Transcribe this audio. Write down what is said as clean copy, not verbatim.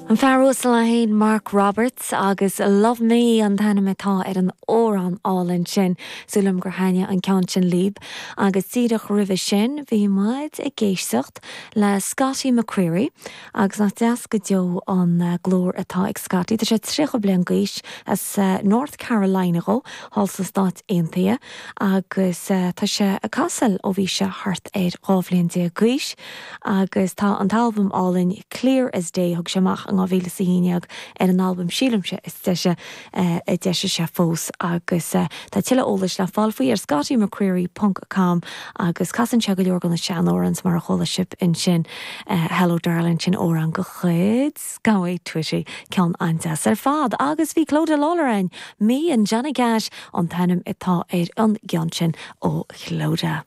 An fear uasal é féin, Mark Roberts, agus Love Me an t-ainm atá ar an amhrán álainn sin. Súil agam gur thaitnigh an ceann sin libh. Agus díreach roimhe sin bhí muid ag éisteacht le Scotty McCreery agus nach deas go deo an glór atá ag Scotty. Tá sé 30 bliain d'aois, as North Carolina dhó, thall sna Stáit Aontaithe agus tá sé ag casadh ó bhí sé thart ar 12 bhliain d'aois. Agus tá an t-albam álainn Clear as Day, a thug sé amach in 2011, ar an albam sílimse is deise a d'eisigh sé fós. Agus tá tuilleadh eolais le fáil faoi ar scottymccreery ponc com agus casann sé go leor de na seanamhráin mar a chuala sibh ansin, Hello Darling, sin amhrán de chuid Galway Twitty, ceann an-deas ar fad. Agus bhí Clodagh Lawlor ann, Me and Johnny Cash an t-ainm atá ar an gceann sin ó Chlodagh.